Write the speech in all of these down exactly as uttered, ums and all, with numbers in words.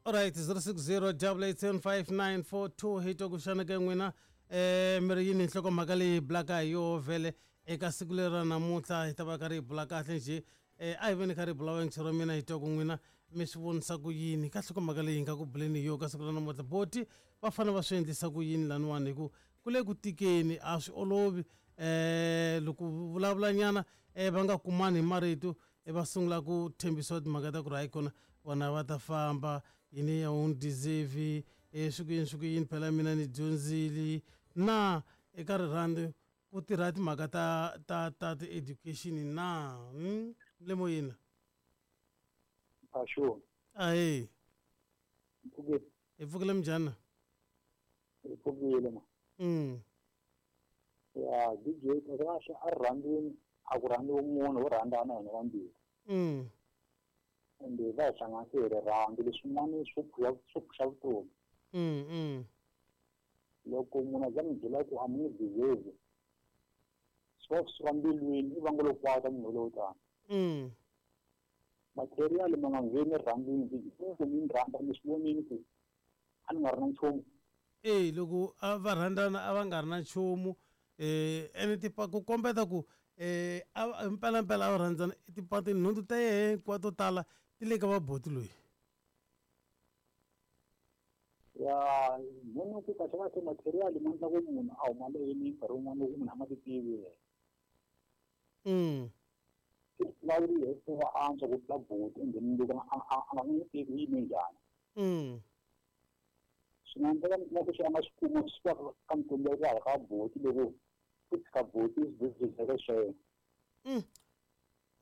Alright, zero six zero double eight seven five nine four two hi twa ku xana ka n'wina eh mi ri yini nhlokomhaka leyi hi bulaka hi yoho vhele eka siku leri ra namuntlha hi ta va karhi hi bula kahle njhe eh a hi veni karhi hi bula wengchero ra mina hi twa ku n'wina mi swi vonisa ku yini ka nhlokomhaka leyi hi nga ku buleni hi yoho ka siku ra namuntlha boti va fanele va swi endlisa ku yini laniwani hi ku ku le ku tikeni a swi olovi eh loko vulavulanyana eh va nga kumani hi marito e va sungula ku tshembisiwa timhaka ta ku ri hayi kona vona va ta famba yini ya wu ni deserve e swi ku yini swi ku yini phela mina ni dyondzile na eka rirhandzu ku tirha timhaka ta ta ta ti-education na hmm? le moyeni Ah, sure. ahee Mpfukile. Hi pfukile minjhani? Hi pfukile ma. Mm. Ya D J kahle a rirhandzwini a ku rhandziwi munhu wo rhandzana hina vambirhi. Mm. Ende va hi hlanganise hi rirhandzu leswin'wana swo phuxa swo phuxa vutomi. Mm, mm. Loko munhu a za mi byela ku a mi n'wi deserve swi va swi suka mbilwini i vanga lo kwata munhu lowo tani. Mm. Material ma nga ngheni rirhandzwini loko mi ni rhandza mi swi vonini ku a ni nga ri na nchumu. E loko a va rhandzana a va nga ri na nchumu eh ene tipa ku kombeta ku eh a mpelampela a va rhandzana tipa tinhundzu ta yehe hinkwato to tala ti le ka vaboti loyi. Ya munhu ku kahle kahle material ma endla ku munhu a huma leyini nkarhi wun'wana loko munhu a nga ti tivi yena. Mm. Vulavuri hi va antswa ku tlula buti and then loko a a a nga n'wi tivi u yime njhani. Mm. Swi nga endleka mi kuma ku swi a nga swi kuma swi va ka mikwembu ya hala ka buti loko ku tshika buti swi byeka swa yena. Mm.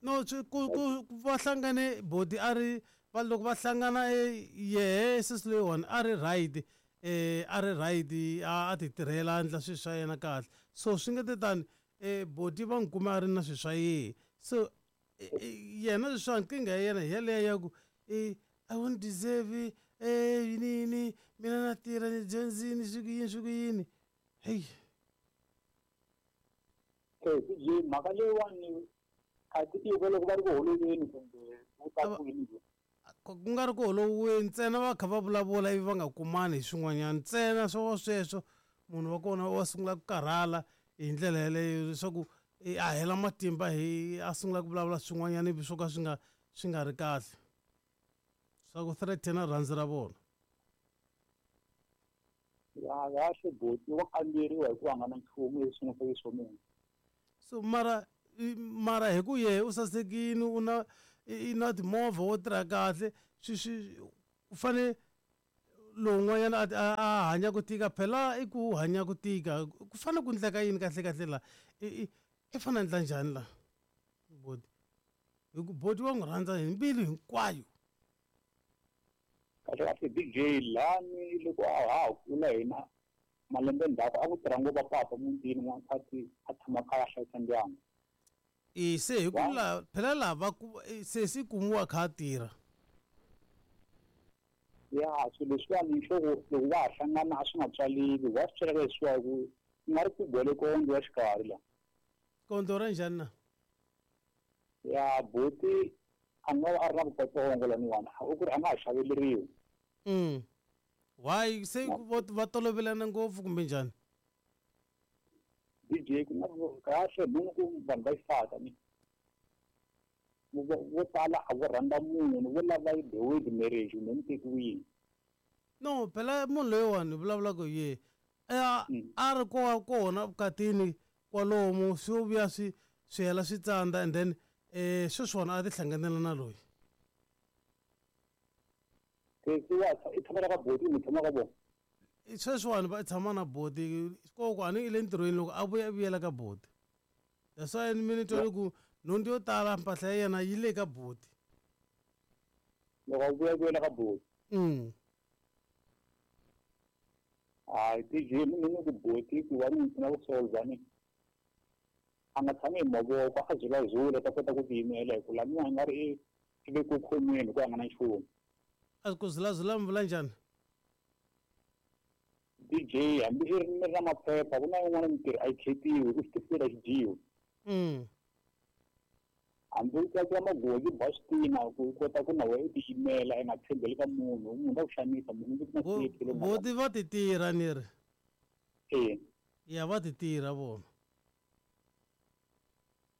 No swi ku ku va hlangane boti a ri va loko va hlangana e yehe sesi loyiwani a ri right eh a ri right a a ti tirhela a endla swilo swa yena kahle so swi nge te tani eh boti va n'wi kuma a ri na swilo swa yehe so yena leswiwa nkingha ya yena hi yaleyo ya ku eh I won't deserve eh yini yini mina na tirha ni dyondzini swi ku yini swi ku yini heyi. Eh D J mhaka leyiwani a ti tivi loko va ri ku holoveni kumbe wu ta ku yini. Ku nga ri ku holoviweni ntsena va kha va vulavula ivi va nga kumani hi swin'wanyana ntsena swo sweswo munhu wa kona wa sungula ku karhala hi ndlela yaleyo leswaku a hela matimba hi a sungula ku vulavula swin'wanyana ivi swo ka swi nga swi nga ri kahle swa ku threaten rirhandzu ra vona. Ya kahle buti wa kamberiwa hikuva a nga na nchumu leswi nga swa munhu. So mara mara hi ku yehe u sasekile u na i na timovha wo tirha kahle swi swi u fane lowun'wanyana a a hanya ku tika phela i ku hanya ku tika ku fane ku endleka yini kahle kahle la i i i fane a endla njhani la boti hi ku boti wa n'wi rhandza hi mbilu hinkwayo. Kahle kahle D J lani loko a ha ha kula hina malembe ndzhaku a ku tirha ngopfu papa mutini n'wansati a tshama kaya a hlayisa ndyangu. E se hi ku la phela laha va ku sesi kumiwa kha a tirha. Ya swilo leswiwani swo ku loko va ha hlangana a swi nga tswaliwi wa swi tswaleka leswiwa ku ku nga ri ku gwele kondlo ya xikarhi la. Kondlo ra njhani na? Ya buti a nga va a ri na vukatsongo laniwani u ku ri a nga ha xaveleriwi. Mm. Why se va tolovelana ngopfu kumbe njhani? D J ku nga kahle munhu ku vanhu va xisati ni vo tala a vo rhandza munhu vo lava the word marriage kumbe mi tekiwile. No phela munhu loyiwani hi vulavulaka hi yehe a a ri ko kona vukatini kwalomu swi vuya swi swi hela swi tsandza and then eh sweswiwani a ti hlanganela na loyi. Sesi wa i tshama ka boti kumbe tshama ka vona? Sweswiwani va tshama na boti koko a ni i le ntirhweni loko a vuya vuyela ka boti that's why mi ni twa ku nhundzu yo tala mpahla ya yena yi le ka boti. Loko a vuya vuyela ka boti. Mm. Hayi D J ni ni ku boti ku va ni pfuna ku solve ni a nga tshami hi mavoko a zulazula ta kota ku tiyimela hi ku laniwa i nga ri i le ku khomeni hikuva a nga na nchumu. A ku zulazula mi vula njhani? D J hambi i ri mi ri na maphepha ku na yin'wana mintirho a yi khetiwi hi ku xitifiketi a xi dyiwi. Mm. Hambi u teka magoji ba switina ku kota ku na wena u tiyimela i nga tshembeli ka munhu munhu ta ku xanisa munhu ku na safety boti va ti tirha ni ri eh ya va ti tirha vona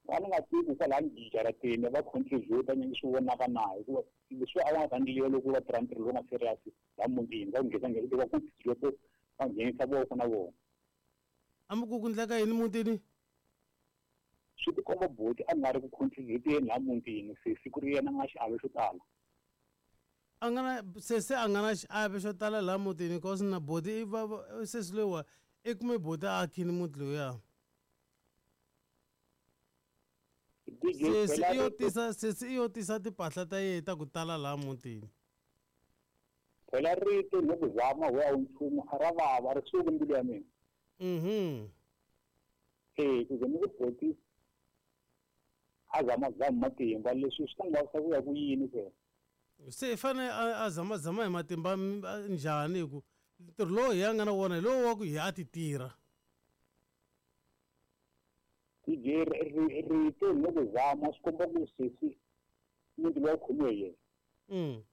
va ni nga tivi kwalani jarateni va contribute ni swi vonaka na hikuva leswi a va nga ta ndliwa loko va tirha ntirho lowu nga serious la mutini va nghena nghena va contribute va nghenisa voko na vona a mi ku ku ndleka yini mutini swi tikomba boti a nga ri ku contribute-eni laha mutini sesi ku ri yena nga xiave xo tala a nga na sesi a nga na xiave xo tala laha mutini cause na boti i va sesi loyiwa i kume boti a akhini muti lowuya sesi i yo tisa sesi i yo tisa timpahla ta yena ta ku tala laha mutini phela rito ni ku zama we a wu nchumu a ra vava ri suki mbilu ya mina mhm eh ku ze ni ku boti a zama zama matimba leswi swi ta n'wi vavisa ku ya ku yini phela se i fanele a zama zama hi matimba njhani hi ku ntirho lowu hi a nga na wona hi lowu wa ku hi a ti tirha D J rito ni ku zama swi komba ku sesi muti lowu khomiwe hi yena mm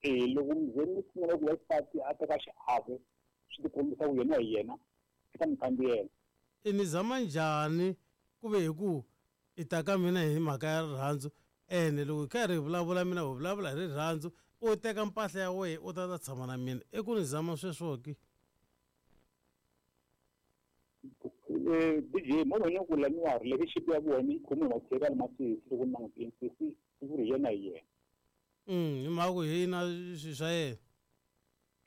eh loko mi ni sungula ku wansati a teka xiave swi tikombisa ku yena hi yena eka mikambiyela i ni zama njhani ku ve hi ku i ta ka mina hi mhaka ya rirhandzu ene loko hi karhi hi vulavula mina hi vulavula hi rirhandzu u teka mpahla ya wena u ta ta tshama na mina i ku ni zama sweswo ki D J mo vona ku lamiwa relationship ya vona yi khomiwe hi material ma sesi loko ni langutile sesi i ku ri yena hi yena mm hi mhaka ku hi na swilo swa yena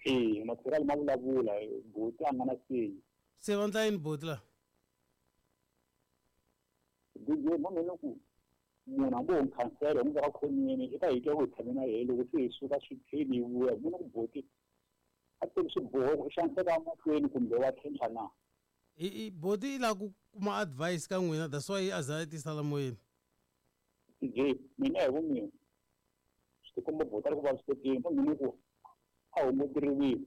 eh material ma vulavula boti a nga na seyi se va ndla yini boti la D J mo vona ku munhu hambi wo khansela n'wi veka khonweni i ta hi twa ku hi tshame na yena loko se hi suka swi tlheli hi vuya vona ku boti a teki swiboho ku xaniseka mahlweni kumbe wa tlhentlha na i boti i lava ku kuma advice ka n'wina that's why a za a tisa la moyeni D J mina hi vumina swi tikomba boti a ri ku vavisekeni mo mina ku a hunguti rivilo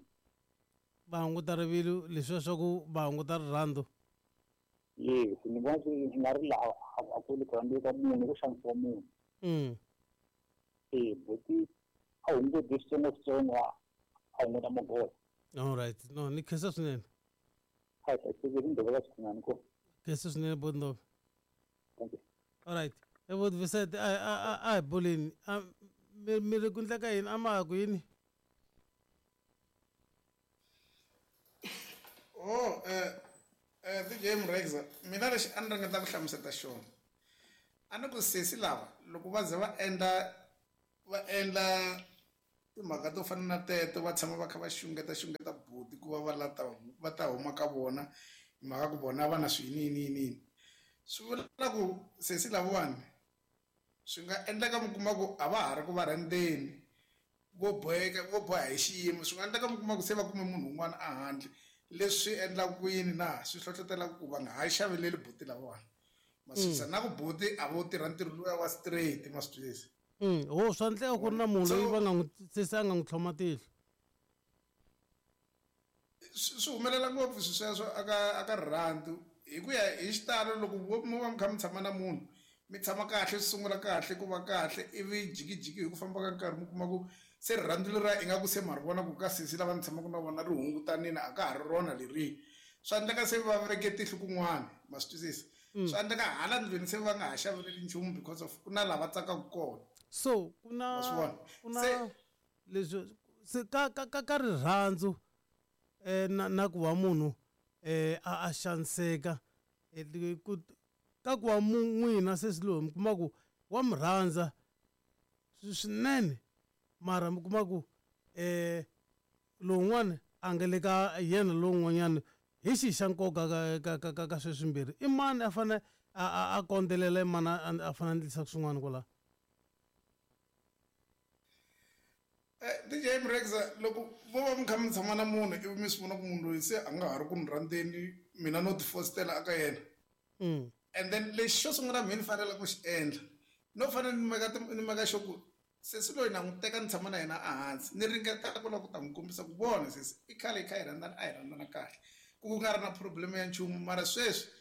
va hunguta rivilo leswiya swa ku va hunguta rirhandzu yes ni vona swi nga ri laha a ku le ku rhandziwa ka munhu ku xanisiwa munhu mm eh boti a hunguti switsongoswitsongo a hunguta magoza all right no ni khensa swinene a hi hlayisekile ndlela ka swinene ko khensa swinene boti Ndove thank you all right e boti Vicente a a a hi buleni mi mi ri ku ndleka yini a ma ha ku yini oh eh eh D J Mrexa mina lexi a ni ringeta ku hlamusela xona a ni ku sesi lava loko va ze va endla va endla timhaka to fana na teto va tshama va kha va xungeta xungeta buti ku va va lata va ta huma ka vona hi mhaka ku vona va na swiyini yini yini swi vula ku sesi lavawani swi nga endleka mi kuma ku a va ha ri ku va rhandzeni vo boheka vo boha hi xiyimo swi nga endleka mi kuma ku se va kume munhu un'wana a handle leswi endlaka ku yini na swi hlohlotelaka ku va nga ha xaveleli buti lavawani ma swi twisisa na ku buti a vo tirha ntirho luya wa straight ma swi twisisa mm ho swa ndleka ku ri na munhu loyi va nga n'wi sesi a nga n'wi tlhoma tihlo swi humelela ngopfu swi sweswo aka aka rirhandzu hi ku ya hi xitalo loko mo va mi kha mi tshama na munhu mi tshama kahle swi sungula kahle ku va kahle ivi jikijiki hi ku famba ka nkarhi mi kuma ku se rirhandzu leriya ingaku se ma ri vona ku ka sesi lava ni tshamaka na vona ri hungutanini a ka ha ri rona leriya swa endleka se va veke tihlo kun'wana ma swi twisisa swa endleka hala ndlwini se va nga ha xaveleli nchumu because of ku na lava tsakaka kona so ku na ku na leswi se ka ka ka ka rirhandzu eh na na ku va munhu eh a a xaniseka ku ka ku va n'wina sesi loyi mi kuma ku wa mi rhandza swinene mara mi kuma ku eh lowun'wana a nga le ka yena lowun'wanyana hi xihi xa nkoka ka ka ka ka ka sweswimbirhi i mani a fane a a a kondzelela i mani a fanele a endlisa swin'wana kwalaho D J Mrexa loko vo va mi kha mi tshama na munhu ivi mi swi vona ku munhu loyi se a nga ha ri ku ni rhandzeni mina no tifositela aka yena mm. and then lexi xo sungula mina ni fanele ku xi endla no fanele ni meka ni meka xo ku sesi loyi na n'wi teka ni tshama na yena ehansi ni ringeta ku lava ku ta n'wi kombisa ku vona sesi i khale hi kha hi rhandzana a hi rhandzana kahle ku ku nga ri na problem ya nchumu mara sweswi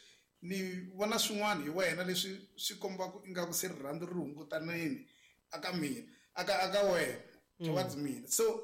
ni vona swin'wana hi wena leswi swi kombaka ingaku se rirhandzu ri hungutanini aka mina aka aka wena towards mina. So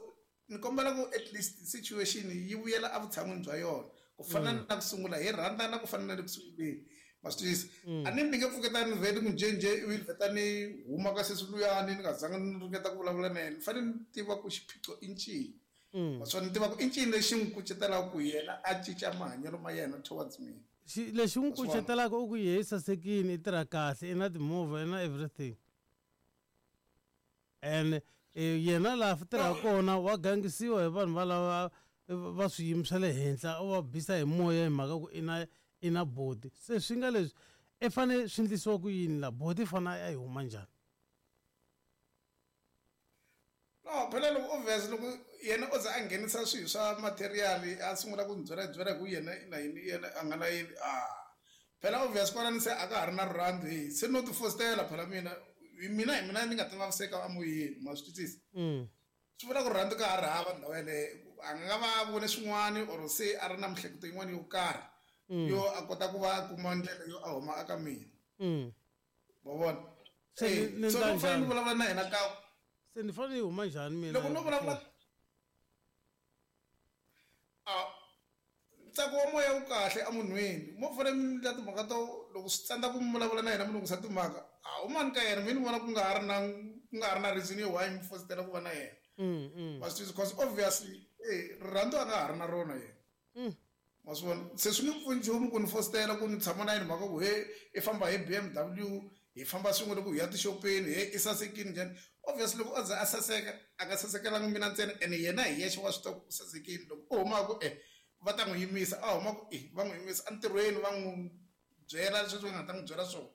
ni kombela ku at least situation yi vuyela evutshan'wini bya yona ku fana na ku sungula hi rhandzana ku fana na le ku sunguleni. Ma swi twisisa? A ni ni nge pfuketani ni vhele ni ku njhenjhe ivi ni vheta ni huma ka sesi luyani ni nga zanga ni ringeta ku vulavula na yena. Ni fanele ni tiva ku xiphiqo i ncini. Naswona ni tiva ku i ncini lexi n'wi kucetelaka ku yena a cinca mahanyelo ma yena towards mina. Xi lexi n'wi Wa swi vona? kucetelaka u ku yehe i sasekile i tirha kahle i na timovha i na everything. And yena laha tirhaka kona wa gangisiwa hi vanhu valava va swiyimo swa le henhla u va bisa hi moya hi mhaka ku i na i na boti. Se swi nga leswi i fanele swi endlisiwa ku yini la boti i fanele a yi huma njhani? No, phela loko obvious loko yena o ze a nghenisa swilo swa material a sungula ku ni byela byela hi ku yena i na yini yena a nga na yini a phela obvious kwalani se a ka ha ri na rirhandzu hi se no ti fositela phela mina hi mina hi mina ni nga ta vaviseka emoyeni ma swi twisisa. Swi vula ku rirhandzu ka ha ri hava ndhawu yeleyo a nga va a vone swin'wani or se a ri na miehleketo yin'wana yo karhi yo a kota ku va a kuma ndlela yo a huma aka mina. Ma vona? Se ni ni So endla loko fanele ni njhani? vulavula na yena ka Se ni fanele ni huma njhani mina? Loko no vulavula a ntsako wa moya wu kahle emunhwini mo fanele mi endla timhaka to loko swi tsandza ku mi vulavula na yena mi lunghisa timhaka a humani ka yena mi ni vona ku nga ha ri na ku nga ha ri na reason yo why mi fositela ku va na yena. Ma swi twisisa? Because obviously eh rirhandzu a nga ha ri na rona yena. Ma swi vona? Se swi nge pfuni nchumu ku ni fositela ku ni tshama na yena mhaka ku he i famba hi B M W hi famba swin'we loko hi ya tixopeni he i sasekile njhani. Obviously loko o ze a saseka a nga sasekelanga mina ntsena ene yena hi yexe wa swi tiva ku u sasekile. Loko o huma ku e va ta n'wi yimisa a huma ku e va n'wi yimisa entirhweni va n'wi byela leswi va nga ta n'wi byela swona.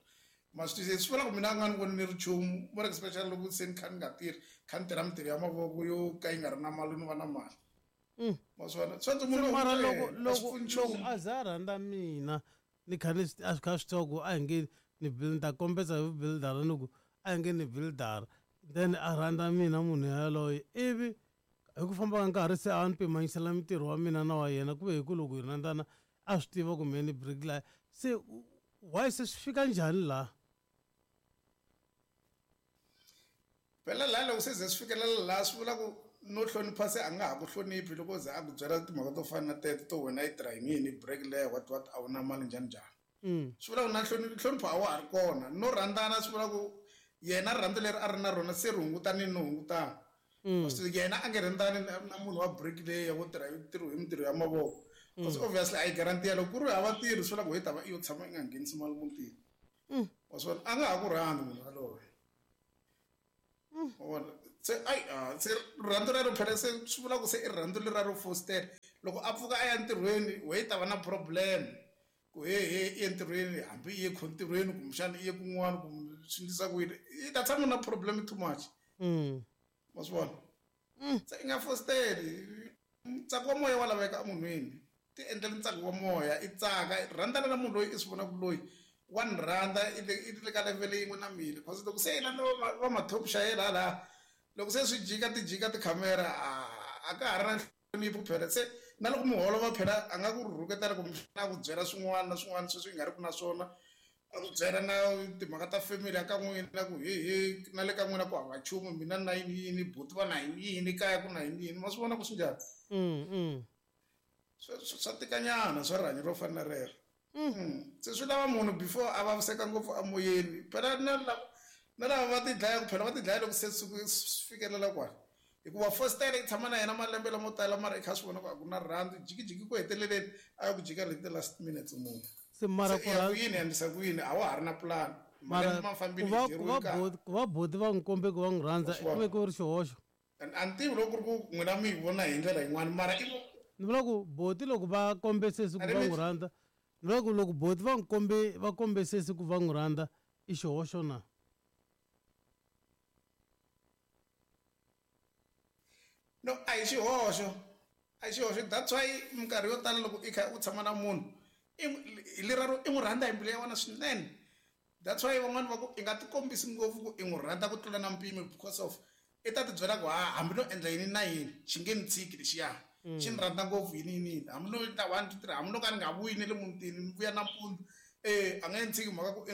Ma swi twisisa? Swi vula ku mina a nga ni voni ni ri nchumu more especially loko se ni kha ni nga tirhi kha ni tirha mintirho ya mavoko yo ka yi nga ri na mali no va na mali. Ma swi vona? Swi antswa munhu Mara loko a swi loko pfuni loko nchumu. a za a rhandza mina ni kha ni a swi kha swi tiva ku a hi nge ni build ta kombetsa hi buildara ni ku a hi nge ni buildara then a rhandza mina munhu yaloye ivi hi ku famba ka nkarhi se a ni pimanyisela mintirho wa mina na wa yena ku ve hi ku loko hi rhandzana a swi tiva ku mehe ni bricklayer se why se swi fika njhani laha? Phela laha loko se ze swi fikelela laha swi vula ku no hlonipha se a nga ha ku hloniphi loko o ze a ku byela timhaka to fana na teto to wena i tirha hi yini bricklayer what what a wu na mali njhani njhani. Swi vula ku na nhlonipho a wa ha ri kona no rhandzana swi vula ku yena rirhandzu leri a ri na rona se ri hungutanini no hungutana. Yena a nge rhandzani na munhu wa bricklayer wo tirha hi ntirho hi mintirho ya mavoko. Because obviously a yi guarantee loko ku ri hava ntirho swi vula ku hi ta va i yo tshama i nga nghenisi mali mutini. Wa swi vona? A nga ha ku rhandzi munhu yaloye. Wa vona? Se ai se rirhandzu rero phela se swi vula ku se i rirhandzu leriya ro fositela. Loko a pfuka a ya entirhweni we i ta va na problem ku he he i entirhweni hambi i ye ntirhweni kumbexana i ye kun'wana kumbe swi endlisa ku yini i ta tshama na problem too much. Ma swi vona? Se i nga fositeli ntsako wa moya wa laveka emunhwini. Ti endlela ntsako wa moya i tsaka rhandzana na munhu loyi i swi vonaka loyi wa ni rhandza i le i le ka level yin'we na mina because loko se i landza va va ma-top xayela hala loko se swi jika ti jika tikhamera a a ka ha ri na nhlonipho phela se na loko muholo va phela a nga ku rhuketela kumbe a ku byela swin'wana na swin'wana sweswi i nga ri ku na swona a ku byela na timhaka ta family ya ka n'wina ku he he na le ka n'wina ku hava nchumu mina na yini yini buti va na yini yini kaya ku na yini yini ma swi vona ku swi njhani? Swa swa tikanyana swa rihanyo ro fana na rero. Se swi lava munhu before a vaviseka ngopfu emoyeni phela na lava na lava va ti dlayaka phela va ti dlaya loko se swi fikelela kwala hikuva fositela yi tshama na yena malembe lamo tala mara i kha swi vona ku a ku na rirhandzu jikijiki ku heteleleni a ya ku jika leti last minutes munhu. Se mara Se ya ku yini endlisa ku yini a wa ha ri na plan mara malembe ma fambile ku va hi ku dyeriwe va nkarhi. boti ku va boti va n'wi kombe ku va n'wi rhandza Wa swi vona? ku ve ku ri xihoxo. A ni tivi loko ku ri ku n'wina mi yi vona hi ndlela yin'wana mara i Ni vula ku boti loko va kombe sesi ku A ri va mi n'wi rhandza ni vula ku loko boti va n'wi kombe va kombe sesi ku va n'wi rhandza i xihoxo na? No a hi xihoxo a hi xihoxo that's why minkarhi yo tala loko i kha u tshama na munhu i hi leraro i n'wi rhandza hi mbilu ya wena swinene. That's why van'wani va ku i nga tikombisi ngopfu ku i n'wi rhandza ku tlula na mpimo because of i ta ti byela ku ha hambi no endla yini na yini xi nge ni tshiki lexiya xi ni rhandza ngopfu yini yini yini hambi no endla one two three hambi no ka ni nga vuyi na le mutini ni vuya nampundzu Eh a nga yi tshiki mhaka ku i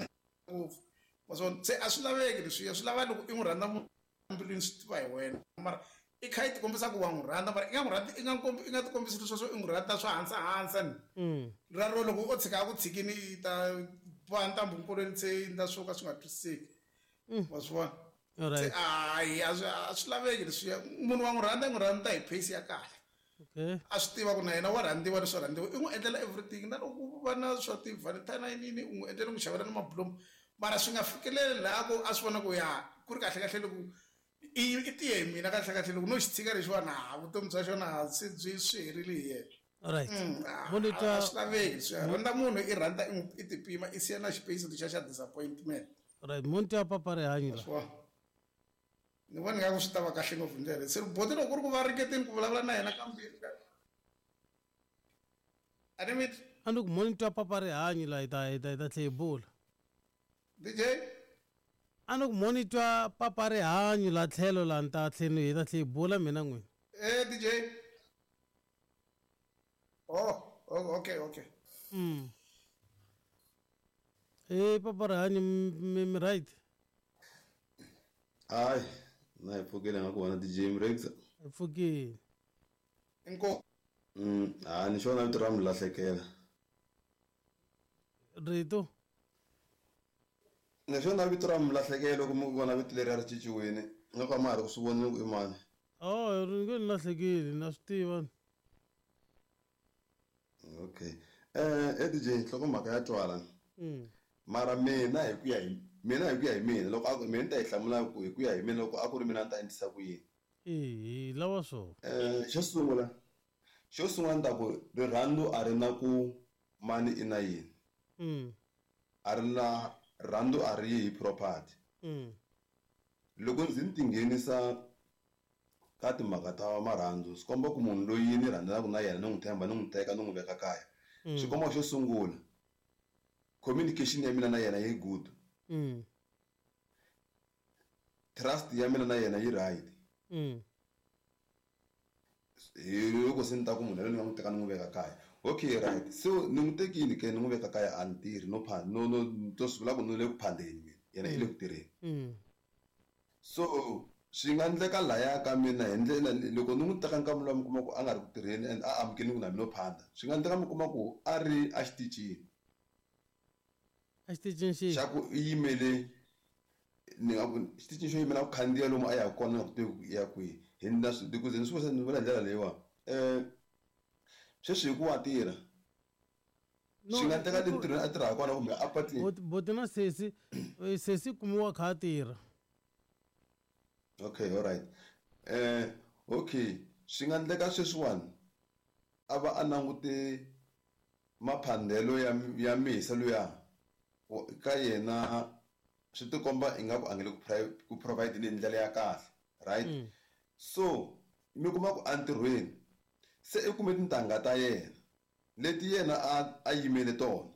ngopfu. Wa swi vona? Se a swi laveki leswiya swi lava loko i n'wi rhandza munhu mbilwini swi tiva hi wena mara i kha i ti kombisa ku wa n'wi rhandza mara i nga n'wi rhandzi i nga kombi i nga ti kombisi leswi swo i n'wi rhandza swa hansi hansi ni. Mm. Ra ro loko o tshika a ku tshikini i ta boha ntambu nkolweni se i endla swo ka swi nga twisiseki. Wa swi vona? Se Alright. hayi a swi a swi laveki leswiya munhu wa n'wi rhandza i n'wi rhandza hi pace ya kahle. Okay. A swi tiva ku na yena wa rhandziwa leswo rhandziwa i n'wi endlela everything na loko ku va na swa ti-valentine yini u n'wi endlela n'wi xavela na mabulomu mara swi nga fikeleli laha ku a swi vona ku ya ku ri kahle kahle loko i i tiye hi mina kahle kahle loko no xi tshika lexiwani ha vutomi bya xona se byi swi herile hi yena. Alright. Mm, a Mo ni twa a swi laveki swi rhandza munhu i rhandza i n'wi i ti pima i siya na xipeyisi lexiya xa disappointment. Alright, mo ni twa papa rihanyo la. Swi vona? Ni vona ingaku swi ta va kahle ngopfu hi ndlela leyi. Se boti loko ku ri ku va ringeteni ku vulavula na yena kambirhi a ni mi A ni ku mo ni twa papa rihanyo la hi ta hi ta hi ta tlhe hi bula. D J A ni ku mo ni twa papa rihanyo la tlhelo la ni ta tlhe ni hi ta tlhe hi bula mina n'wini. Eh D J. Oh, oh okay okay. Mm. Eh papa rihanyo mi mi right. Hayi, na hi pfukile nga ku vona D J Mrexa. Hi pfukile. Inkomu. Mm, ha ni xona vito ra mi lahlekela. Rito. Ni xona vito ra mi lahlekela loko mi vona vito leri a ri cinciwile. Nga ka ma ha ri ku swi vonile ku i mani. Oh, ri nge ni lahlekile na swi tiva. Okay. Eh, eh D J nhlokomhaka ya twala. Mm. Mara mina hi ku ya hi mina hi ku ya hi mina loko a ku mina ni ta yi hlamula ku hi ku ya hi mina loko a ku ri mina ni ta endlisa ku yini. Eh, lawa swo. Eh, xo sungula xo sungula ni ta ku rirhandzu a ri na ku mani i na yini. Mm. A ri na rirhandzu a ri yi hi property. Mm. Loko ndzi ni tinghenisa ka timhaka ta marhandzu swi komba ku munhu loyi ni rhandzanaka na yena ni n'wi tshemba ni n'wi teka ni n'wi veka kaya. Mm. Swi komba xo sungula communication ya mina na yena yi good. Mm. Trust ya mina na yena yi right. Mm. Hi loko se ni ta ku munhu yaloye ni nga n'wi teka ni n'wi veka kaya. Okay, right. So ni n'wi tekile ke ni n'wi veka kaya a ni tirhi no pha no no to swi vula ku ni le ku phandeni mina yena i le ku tirheni. Mm. So swi nga endleka laya ka mina hi ndlela loko ni n'wi teka nkarhi lowu mi kuma ku a nga ri ku tirheni and a amukeli ku na mina no phanda swi nga endleka mi kuma ku a ri a xitichini. A xitichini xihi? Xa ku i yimele ni nga ku xitichini xo yimela ku khandziya lomu a yaka kona ni nga ku tivi ku i ya kwihi. Hi na swi ku ze ni swi vula ni vula hi ndlela leyiwani. Eh sweswi hi ku wa tirha. No, Swi nga endleka le ntirhweni a tirhaka kona kumbe a patwini. Boti boti na sesi sesi kumiwa kha a tirha. Okay, all right. Eh okay, swi nga endleka sweswiwani a va a langute maphandelo ya ya misa luya ka yena swi tikomba ingaku a nge le ku ku provide hi ndlela ya kahle, right? Mm. So mi kuma ku entirhweni se i kume tintangha ta yena leti yena a a yimele tona.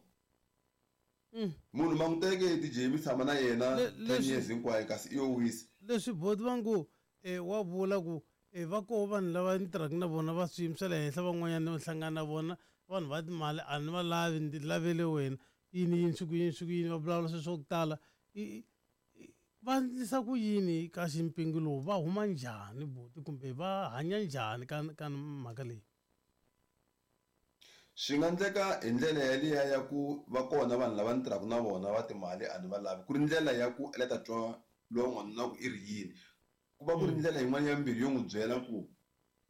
Mm. Munhu ma n'wi teke D J mi tshama na yena Le- ten leswi- years hinkwayo kasi i yo wisa. Leswi boti va ngo eh wa vula ku eh va koho vanhu lava ni tirhaka na vona va swiyimo swa le henhla van'wanyana ni hlangana na vona vanhu va timali a ni va lavi ni lavele wena yini yini swi ku yini swi ku yini va vulavula swilo swa ku tala i va endlisa ku yini ka ximpingu lowu va huma njhani buti kumbe va hanya njhani ka ka mhaka leyi. Swi nga endleka hi ndlela yaliya ya ku va kona vanhu lava ni tirhaka na vona va timali a ni va lavi ku ri ndlela ya ku a la ta twa lowa n'wanuna ku i ri yini ku va ku ri ndlela yin'wana ya mbilu yo n'wi byela ku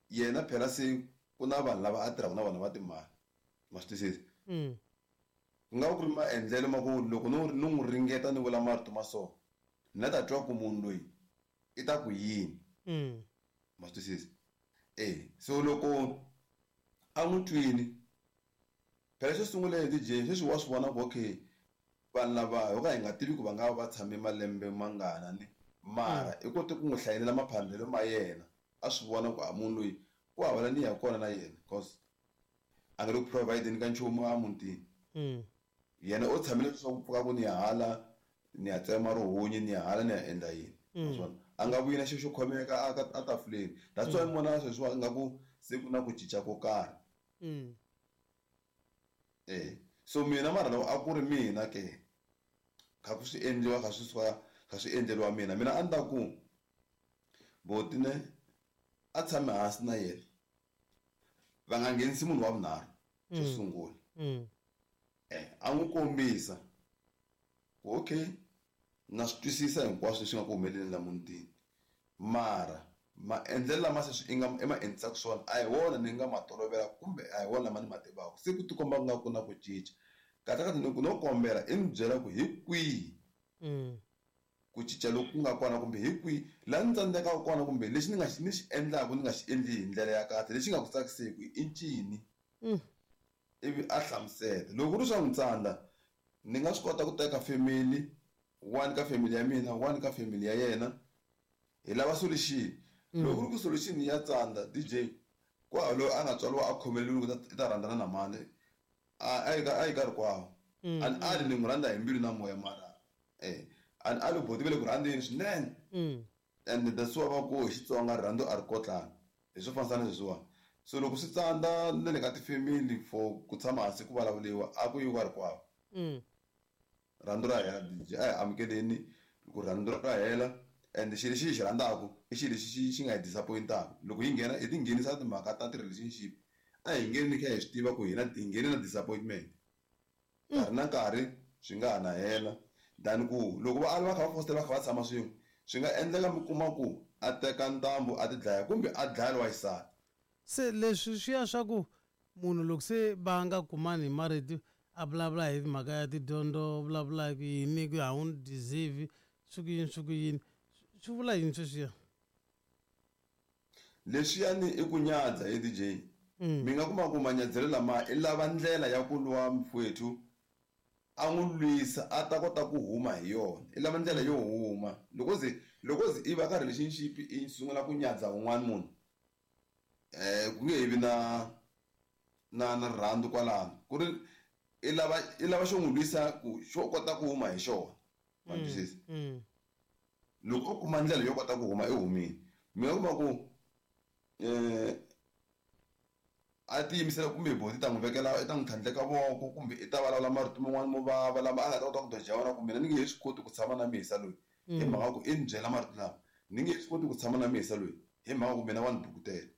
yena phela se ku na vanhu lava a tirhaka na vona va timali ma swi twisisa. Mm. Ku nga va ku ri maendlelo ma ku loko no no n'wi ringeta ni vula marito ma so ni la ta twa ku munhu loyi i ta ku yini. Mm. Ma swi twisisa. Eh so loko a n'wi twini phela xo sungula hi D J sweswi wa swi vona ku okay vanhu lava ho ka hi nga tivi ku va nga va va tshame malembe mangana ni mara i kote ku n'wi hlayelela maphandelo ma yena a swi vona ku a munhu loyi ku hava la ni ya kona na yena cause a nga le ku provide-ni ka nchumu a mutini. Mm. Yena o tshamile swa ku pfuka ku ni ya hala ni ya tsema rihunyi ni ya hala ni ya endla yini. Naswona a nga vuyi na xilo xo khomeka a a tafuleni. That's why mi vona sweswiwa ingaku se ku na ku cinca ko karhi. Mm. Eh So mina mara loko a ku ri mina ke kha ku swi endliwa kha swi suka kha swi endleriwa mina mina a ni ta ku boti ne a tshame hansi na yena va nga nghenisi munhu wa vunharhu xo sungula eh a n'wi kombisa ku okay na swi twisisa hinkwaswo leswi nga ku humeleleni la mutini mara maendlelo lama se swi i nga i ma endlisaka swona a hi wona ni nga ma tolovela kumbe a hi wona lama ni ma tivaka se ku tikomba ku nga ku na ku cinca kahle kahle ni ku no kombela i ni byela ku hi kwihi ku cinca loku ku nga kona kumbe hi kwihi laha ni tsandzekaka kona kumbe lexi ni nga xi ni xi endlaka ni nga xi endli hi ndlela ya kahle lexi nga ku tsakiseki i ncini ivi a hlamusela loko ku ri swa n'wi tsandza ni nga swi kota ku teka family one ka family ya mina one ka family ya yena hi lava solution loko ku ri ku solution ya tsandza D J ku hava loyi a nga tswariwa a khomeleriwe ku i ta rhandzana na mani a yi ka a yi ka rikwavo a ni ali ni n'wi rhandza hi mbilu na moya mara eh a ni ali boti ve le ku rhandzeni swinene and that's why va ku hi Xitsonga rirhandzu a ri kotlani hi swo fanisa na leswiwani so loko swi tsandza na le ka tifamily for ku tshama hansi ku vulavuriwa a ku yiwa ka rikwavo rhandzu ra hela D J a hi amukeleni ku rhandzu ra hela and xilo lexi hi xi rhandzaka i xilo lexi xi xi nga hi disappoint-aka loko hi nghena hi ti nghenisa timhaka ta ti-relationship a hi ngheni kha hi swi tiva ku hina hi nghene na disappointment nkarhi na nkarhi swi nga ha na hela than ku loko va va kha va fositela va kha va tshama swin'we swi nga endleka mi kuma ku a teka ntambu a ti dlaya kumbe a dlaya lowa xisati se leswi swi ya swa ku munhu loko se va nga kumani hi marito a vulavula hi mhaka ya tidyondzo vulavula ku yini ku a wu ni deserve swi ku yini swi ku yini swi vula yini sweswiya leswiyani i ku nyadza he D J mi nga kuma ku manyadzelo lama i lava ndlela ya ku lwa mfowethu a n'wi lwisa a ta kota ku huma hi yona i lava ndlela yo huma loko ze loko ze i va ka relationship i sungula ku nyadza un'wana munhu eh ku nge he vi na na na rirhandzu kwalano ku ri i lava i lava xo n'wi lwisa ku xo kota ku huma hi xona ma twisisa loko u kuma ndlela yo kota ku huma i humile mi nga kuma ku eh a tiyimisela kumbe boti ta n'wi vekela i ta n'wi tlhandleka voko kumbe i ta vulavula marito man'wani mo vava lama a nga ta kota ku doja wona ku mina ni nge he swi koti ku tshama na mihisa loyi hi mhaka ku i ni byela marito lama ni nge he swi koti ku tshama na mihisa loyi hi mhaka ku mina wa ni bukutela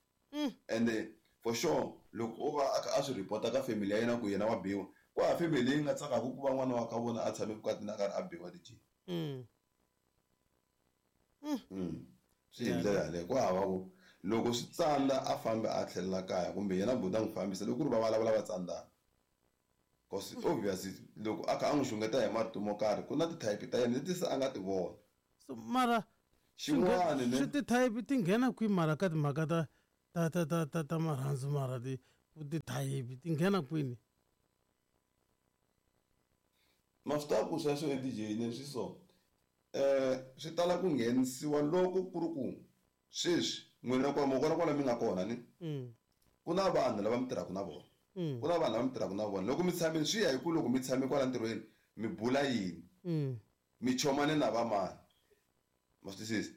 ende for sure loko o va a kha a swi report-a ka family ya yena ku yena wa biwa ku hava family leyi nga tsakaka ku va n'wana wa ka vona a tshame vukatini a karhi a biwa D J swi hi ndlela yaleyo ku hava ku loko swi tsandza a fambi a tlhelela kaya kumbe yena buti a n'wi fambisa loko ku ri va vulavula va tsandzana cause obviously loko a kha a n'wi xungeta hi marito mo karhi ku na ti-type ta yena leti se a nga ti vona so mara xin'wana ne swi ti-type ti nghena kwihi mara ka timhaka ta ta ta ta ta ta marhandzu mara ti ti-type ti nghena kwini ma swi tiva ku sweswo e D J ne swi so eh swi tala ku nghenisiwa loko ku ri ku sweswi n'wina kwala mo kona kwala mi nga kona ni ku na vanhu lava mi tirhaka na vona ku na vanhu lava mi tirhaka na vona loko mi tshamile swi ya hi ku loko mi tshame kwala ntirhweni mi bula yini mi chomane na vamani ma swi twisisa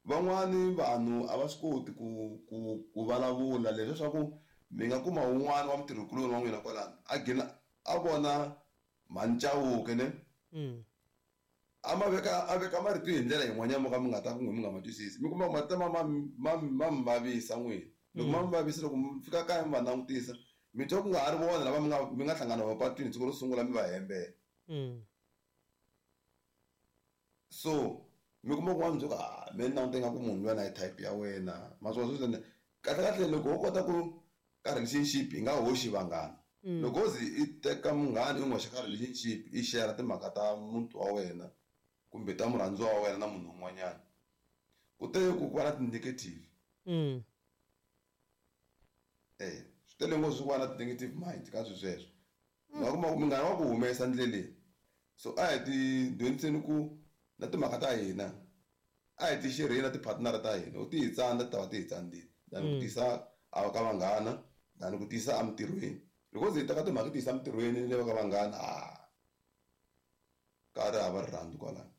van'wani vanhu a va swi koti ku ku ku vulavula leswi swa ku mi nga kuma wun'wana wa mutirhikuloni wa n'wina kwalano a gina a vona mhani Chauke ne a ma veka a veka marito hi ndlela yin'wanyana mo ka mi nga ta ku n'wi mi nga ma twisisi mi kuma ku marito ma ma ma ma mi vavisa n'wina loko ma mi vavisa loko mi fika kaya mi va langutisa mi twa ku nga ha ri vona lava mi nga mi nga hlangana va patwini siku ro sungula mi va hembela so mi kuma ku wa mi byela ku ah me ni langute nga ku munhu luya na hi type ya wena ma swi vona sweswi kahle kahle loko wo kota ku ka relationship hi nga hoxi vanghana loko wo ze i teka munghana i n'wi hoxa ka relationship i share timhaka ta muti wa wena kumbe ta murhandziwa wa wena na munhu un'wanyana ku tele ku va na ti-negative eh swi tele ngopfu ku va na ti-negative mind ka swilo sweswo u nga kuma ku munghana wa ku humesa ndleleni so a hi ti dyondziseni ku na timhaka ta hina a hi ti xerheni na ti-partner ta hina u ti hi tsandza ti ta va ti hi tsandzile than ku tisa a ka vanghana than ku tisa emintirhweni loko ze hi teka timhaka ti yisa emintirhweni ni le ka vanghana a ka ri hava rirhandzu kwalano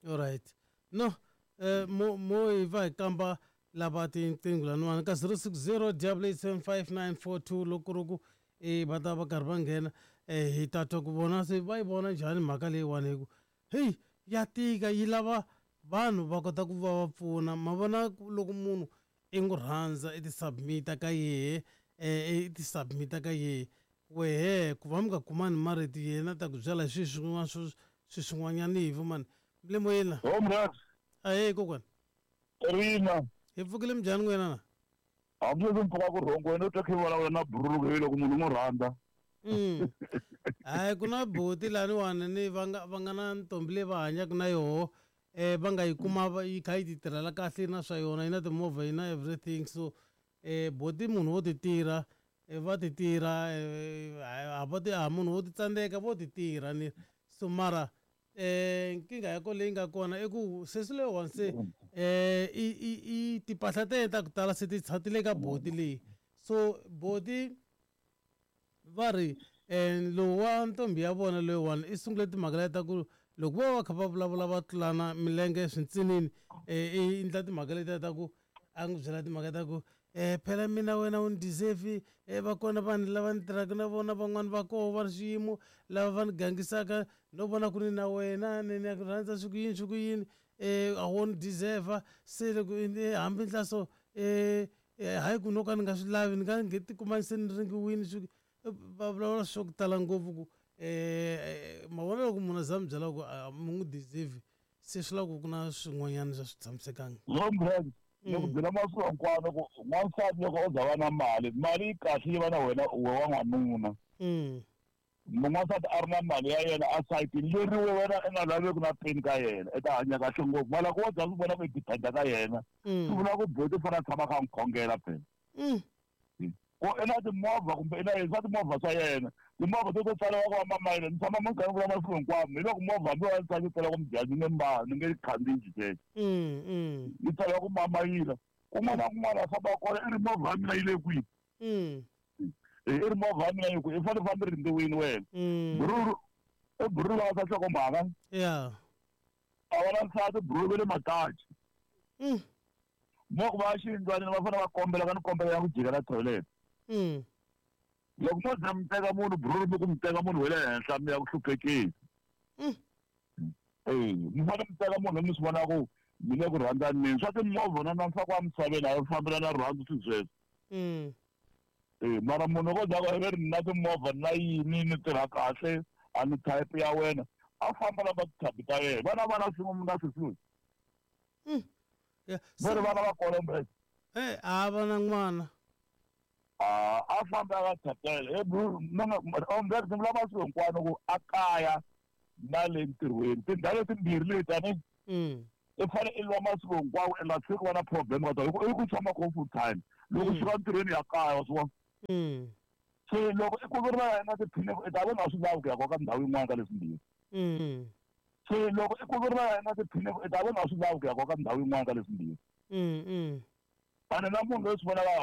alright no eh mo mo hi va hi kamba lava tinqingho laniwani ka zero six zero double eight seven five nine four two loko ku ri ku e va ta va karhi va nghena um hi ta twa ku vona se va yi vona njhani mhaka leyiwani hi ku heyi ya tika yi lava vanhu va kota ku va va pfuna ma vona loko munhu i n'wi rhandza i ti submit-a ka yehe um i ti submit-a ka yehe wehe ku va mi nga kumani marito yena ta ku byela hi swilo swin'wana swo swi swin'wanyana hi mani mi le moyeni la Comrade ahee kokwana Rina hi pfukile minjhani n'wina na hambileswi mpfhuka ku rhongo wena u twa khe vulavula na burulu hi loko munhu n'wi rhandza Mm. Hayi ku na buti laniwani ni va nga va nga na ntombi leyi va hanyaka na yoho eh va nga yi kuma va- yi kha yi ti tirhela kahle na swa yona yi na timovha yi na everything so eh boti munhu wo ti tirha eh, va ti tirha eh, a va ti a munhu wo ti tsandzeka vo ti tirha ni so mara eh nkingha ya kona leyi nga kona i ku sesi leyiwani se eh i i i timpahla ta yena ta ku tala se ti ti le ka boti leyi so boti va ri um lowu wa ntombi ya vona loyiwani i sungule timhaka leti ta ku loko vo va kha va vulavula va tlulana milenge swintsinini um i endla timhaka letiya ta ku a n'wi byela timhaka ta ku um phela mina wena u ni deserve um va kona vanhu lava ni tirhaka na vona van'wani va koho va ri xiyimo lava va ni gangisaka no vona ku ni na wena ni ni ku rhandza swi ku yini swi ku yini um a wo ni deserve se loko hambi ndla so um hayi ku no ka ni nga swi lavi ni nga nge tikuma se ni ringiwini swi va vulavula swo ku tala ngopfu ku um ma vona loko munhu a za mi byela ku a mi n'wi deserve se swi lava ku ku na swin'wanyana swa swi tshamisekanga Comrade loko byela masiku hinkwawo ku n'wansati loko o za va na mali mali yi kahle yi va na wena we wa n'wanuna Mm. n'wansati a ri na mali ya yena a sayitini leri wena i nga laveki na peni ka yena i ta hanya kahle ngopfu mara loko wo za swi vona ku i dependa ka yena swi Mm. vula ku boti u fanele a tshama a kha a n'wi khongela phela Mm. ku i na timovha kumbe i na yini swa timovha swa yena timovha to to tsariwa ku va mamayile ni tshama minkarhi vula masiku hinkwawo hi loko movha hambi wa tsaki tsala ku mujani ni nge mba ni nge khandziyi xexo Mm. Mm. yi tsariwa ku mamayila kun'wana na kun'wana a famba kona i ri movha ya mina yi le kwihi Mm. i ri movha ya mina yi kwihi i fanele fambi rindziwini wena Mm. bururu i bururu va sa nhlokomhaka Yeah. a va na nsati bururu va le matachi Mm. mo ku va xiyindlwanini va fanele va kombela ka ni kombela ya ku jika na toilet Mm. loko mo za mi teka munhu bururu mi ku mi teka munhu wa le henhla mi ya ku hluphekeni Mm. e mi fanele mi teka munhu mi swi vona ku mi le ku rhandzaneni swa timovha na na ntsako wa misaveni a yi fambelana rirhandzu swi sweswo Mm. e mara munhu ko za ku ve ri na timovha na yini ni tirha kahle a ni type ya wena a famba lava tithabi ta yena vana vana swin'we mi nga swi Mm. Yeah. va ri vana va kona mbe Eh, a va na n'wana. a a famba a ka thabela e ombe ni vula masiku hinkwawo ku a kaya na le ntirhweni tindhawu letimbirhi leti ani Mm. i fanele i lwa masiku hinkwawo i nga tshiki va na problem ka tona i ku tshama ko full time loko Mm. suka ntirhweni ya kaya wa swi vona Mm. se loko i ku ri na na tiphini i ta va nga swi lavi ku ya ka ndhawu yin'wana ka leswimbirhi Mm. se loko i ku ri na na tiphini i ta va nga swi lavi ku ya ka ndhawu yin'wana ka leswimbirhi Mm. Mm. ene na munhu loyi swi vonaka